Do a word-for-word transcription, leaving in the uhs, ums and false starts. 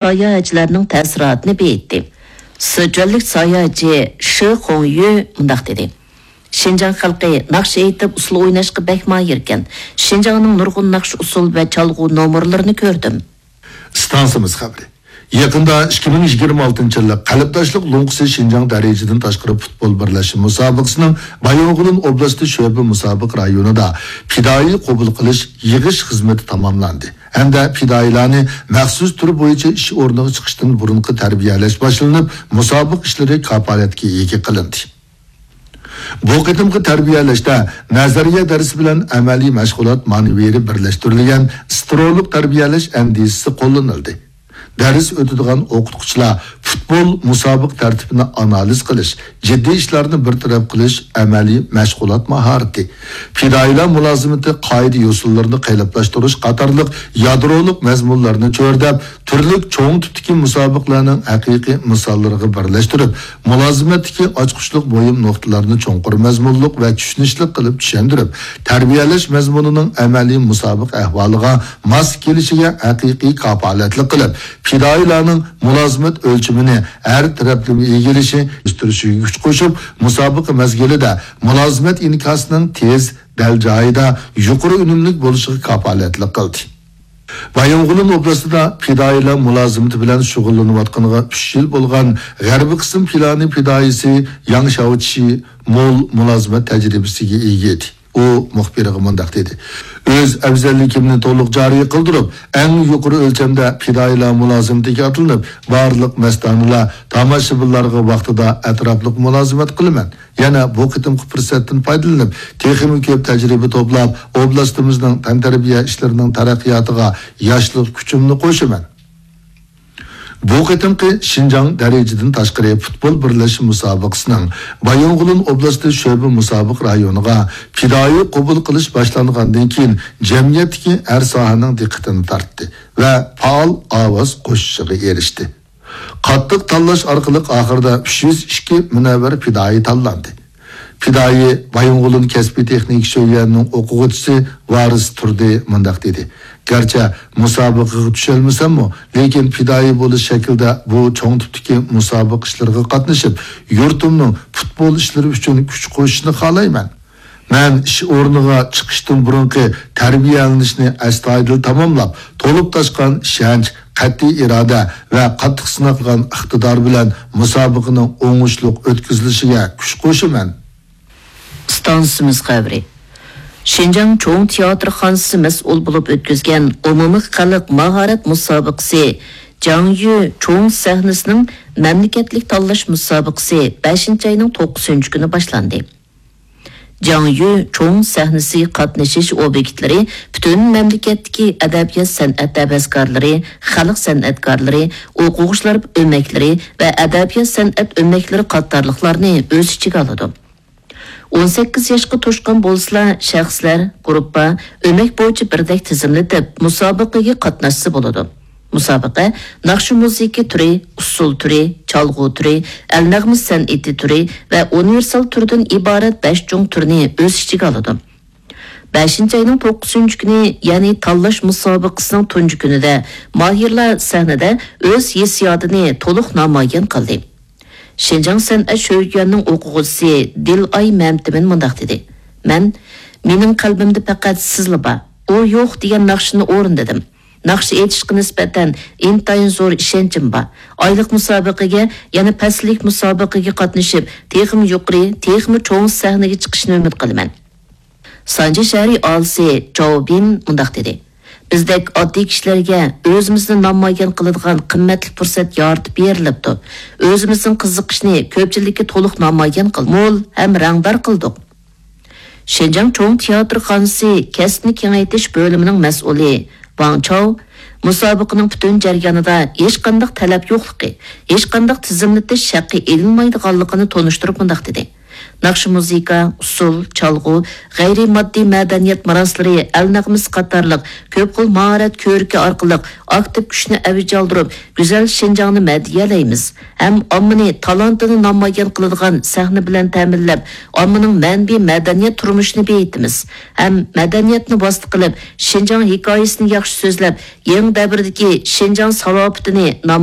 ساياھەتچىلەرنىڭ تەسىراتىنى بېيىتتى. سىچۈەنلىك ساياھەتچى شې خۇڭيۈ مۇنداق دېدى: شىنجاڭ خەلقى ناخشا ئېيتىپ، ئۇسسۇل ئويناشقا بەك ماھىركەن. شىنجاڭنىڭ نۇرغۇن ناخشا ئۇسسۇل ۋە چالغۇ نومۇرلىرىنى كۆردۈم. ئىستانسىمىز خەۋىرى. يېقىندا ئىككى مىڭ يىگىرمە ئالتىنچى يىللىق قەلبداشلىق لوڭقىسى شىنجاڭ دەرىجىدىن تاشقىرى پۇتبول بىرلەشمە مۇسابىقىسىنىڭ بايىنغولىن ئوبلاستى شۆبە مۇسابىقە رايونىدا پىدائىي قوبۇل قىلىش، يىغىش خىزمىتى تاماملاندى ھەمدە پىدائىيلارنى مەخسۇس تۈر بويىچە ئىش ئورنىغا چىقىشتىن بۇرۇنقى تەربىيەلەش باشلىنىپ، مۇسابىقە ئىشلىرى كاپالەتكە ئىگە قىلىندى. بۇ قېتىمقى تەربىيەلەشتە نەزەرىيە دەرسى بىلەن ئەمەلىي مەشغۇلات مانېۋىرى بىرلەشتۈرۈلگەن ستىرولۇق تەربىيەلەش ئەندىزىسى قوللىنىلدى. دەرس ئۆتىدىغان ئوقۇتقۇچىلار پۇتبول مۇسابىقە تەرتىپىنى ئانالىز قىلىش، جىددىي ئىشلارنى بىر تەرەپ قىلىش ئەمەلىي مەشغۇلات ماھارىتى، پىدائىيلار مۇلازىمىتى قائىدە-يوسۇنلىرىنى قېلىپلاشتۇرۇش قاتارلىق يادرولۇق مەزمۇنلارنى چۆرىدەپ، تۈرلۈك چوڭ تىپتىكى مۇسابىقىلەرنىڭ ھەقىقىي مىساللىرىغا بىرلەشتۈرۈپ، مۇلازىمەتتىكى ئاچقۇچلۇق مۇھىم نۇقتىلارنى چوڭقۇر مەزمۇنلۇق ۋە چۈشىنىشلىك قىلىپ چۈشەندۈرۈپ، تەربىيەلەش مەزمۇنىنىڭ ئەمەلىي مۇسابىقە ئەھۋالىغا ماس كېلىشىگە ھەقىقىي كاپالەتلىك قىلىپ، پىدائىيلارنىڭ مۇلازىمەت ئۆلچىمىنى ھەر تەرەپلىمە ئىگىلىشى، ئۆستۈرۈشىگە كۈچ قوشۇپ، مۇسابىقە مەزگىلىدە مۇلازىمەت ئىنكاسىنىڭ تېز، دەل جايىدا، يۇقىرى ئۈنۈملۈك بولۇشىغا كاپالەتلىك قىلدى. بايىنغولىن ئوبلاستىدا پىدائىيلار مۇلازىمىتى بىلەن شۇغۇللىنىۋاتقىنىغا ئۈچ يىل بولغان غەربىي قىسىم پىلانى پىدائىيسى ياڭ شياۋچى مول مۇلازىمەت تەجرىبىسىگە ئىگە ئىدى. ئۇ مۇخبىرغا مۇنداق دېدى: ئۆز ئەۋزەللىكىمنى تولۇق جارى قىلدۇرۇپ، ئەڭ يۇقىرى ئۆلچەمدە پىدائىيلار مۇلازىمىتىگە ئاتلىنىپ، بارلىق مەستانىلەر، تاماشىبىنلارغا ۋاقتىدا ئەتراپلىق مۇلازىمەت قىلىمەن. يەنە بۇ قېتىمقى پۇرسەتتىن پايدىلىنىپ، تېخىمۇ كۆپ تەجرىبە توپلاپ، ئوبلاستىمىزنىڭ تەنتەربىيە ئىشلىرىنىڭ تەرەققىياتىغا ياشلىق كۈچۈمنى قوشىمەن. بۇ قېتىمقى شىنجاڭ دەرىجىدىن تاشقىرى پۇتبول بىرلەشمە مۇسابىقىسىنىڭ بايىنغولىن ئوبلاستى شۆبە مۇسابىقە رايونىغا پىدائىي قوبۇل قىلىش باشلانغاندىن كېيىن، جەمئىيەتتىكى ھەر ساھەنىڭ دىققىتىنى تارتتى ۋە پائال ئاۋاز قوشۇشىغا ئېرىشتى. قاتتىق تاللاش ئارقىلىق ئاخىرىدا ئۈچ يۈز ئىككى مۇنەۋۋەر پىدائىي تاللاندى. پىدائىي بايىنغولىن كەسپىي تېخنىكا شۆيۈەنىنىڭ ئوقۇغۇچىسى ۋارىس تۇردى مۇنداق دېدى: گەرچە مۇسابىقىگە چۈشەلمىسەممۇ، لېكىن پىدائىي بولۇش شەكلىدە بۇ چوڭ تىپتىكى مۇسابىقە ئىشلىرىغا قاتنىشىپ، يۇرتۇمنىڭ پۇتبول ئىشلىرى ئۈچۈن كۈچ قوشۇشىنى خالايمەن. مەن ئىش ئورنىغا چىقىشتىن بۇرۇنقى تەربىيەلىنىشنى ئەستايىدىل تاماملاپ، تولۇپ تاشقان ئىشەنچ، قەتئىي ئىرادە ۋە قاتتىق سىناق قىلغان ئىقتىدار بىلەن مۇسابىقىنىڭ ئوڭۇشلۇق ئۆتكۈزۈلۈشىگە كۈچ قوشىمەن. ئىستانسىمىز خەۋىرى. شىنجاڭ چوڭ تىياتىرخانىسى مەسئۇل بولۇپ ئۆتكۈزگەن ئومۇمىي خەلق ماھارەت مۇسابىقىسى جاڭيۈ چوڭ سەھنىسىنىڭ مەملىكەتلىك تاللاش مۇسابىقىسى بەشىنچى ئاينىڭ توققۇزىنچى كۈنى باشلاندى. جاڭيۈ چوڭ سەھنىسى قاتنىشىش ئوبيېكتلىرى پۈتۈن مەملىكەتتىكى ئەدەبىيات-سەنئەت ھەۋەسكارلىرى، خەلق سەنئەتكارلىرى، ئوقۇغۇچىلار ئۆمەكلىرى ۋە ئەدەبىيات-سەنئەت ئۆمەكلىرى قاتارلىقلارنى ئۆز ئىچىگە ئالىدۇ. ئون سەككىز ياشقا توشقان بولسىلا، شەخسلەر، گۇرۇپپا، ئۆمەك بويىچە بىردەك تىزىملىتىپ، مۇسابىقىگە قاتناشسا بولىدۇ. مۇسابىقە ناخشا-مۇزىكا تۈرى، ئۇسسۇل تۈرى، چالغۇ تۈرى، ئەلنەغمە سەنئىتى تۈرى ۋە ئۇنىۋېرسال تۈردىن ئىبارەت بەش چوڭ تۈرنى ئۆز ئىچىگە ئالىدۇ. بەشىنچى ئاينىڭ توققۇزىنچى كۈنى، يەنى تاللاش مۇسابىقىسىنىڭ تۇنجى كۈنىدە ماھىرلار سەھنىدە ئۆز ھېسسىياتىنى تولۇق نامايان قىلدى. شىنجاڭ سەنئەت شۆيۈەنىنىڭ ئوقۇغۇچىسى دىلئاي مەمتىمىن مۇنداق دېدى: مەن، مېنىڭ قەلبىمدە پەقەت سىزلا بار، ئۇ يوق دېگەن ناخشىنى ئورۇندىدىم. ناخشا ئېيتىشقا نىسبەتەن ئىنتايىن زور ئىشەنچىم بار. ئايلىق مۇسابىقىگە، يەنە پەسىللىك مۇسابىقىگە قاتنىشىپ، تېخىمۇ يۇقىرى، تېخىمۇ چوڭ سەھنىگە چىقىشنى ئۈمىد قىلىمەن. سانجى شەھىرى ئاھالىسى جاۋ بىن مۇنداق دېدى: بىزدەك ئاددىي كىشىلەرگە ئۆزىمىزنى نامايان قىلىدىغان قىممەتلىك پۇرسەت يارىتىپ بېرىلىپتۇ. ئۆزىمىزنىڭ قىزىقىشىنى كۆپچىلىككە تولۇق نامايان قىل، مول ھەم رەڭدار قىلدۇق. شىنجاڭ چوڭ تىياتىرخانىسى كەسىپنى كېڭەيتىش بۆلۈمىنىڭ مەسئۇلى ۋاڭ چاۋ مۇسابىقىنىڭ پۈتۈن جەريانىدا ھېچقانداق تەلەپ يوقلۇقى، ھېچقانداق تىزىملىتىش ھەققى ئېلىنمايدىغانلىقىنى تونۇشتۇرۇپ مۇنداق دېدى: ناخشا-مۇزىكا، ئۇسسۇل، چالغۇ، غەيرىي ماددىي مەدەنىيەت مىراسلىرى، ئەل نەغمىسى قاتارلىق كۆپ خىل ماھارەت كۆرىكى ئارقىلىق ئاكتىپ كۈچنى ئەۋج ئالدۇرۇپ، گۈزەل شىنجاڭنى مەدھىيەلەيمىز ھەم ئاممىنى تالانتىنى نامايان قىلىدىغان سەھنە بىلەن تەمىنلەپ، ئاممىنىڭ مەنىۋى مەدەنىيەت تۇرمۇشىنى بېيىتىمىز ھەم مەدەنىيەتنى ۋاسىتە قىلىپ، شىنجاڭ ھېكايىسىنى ياخشى سۆزلەپ، يېڭى دەۋردىكى شىنجاڭ سالاپىتىنى نامايان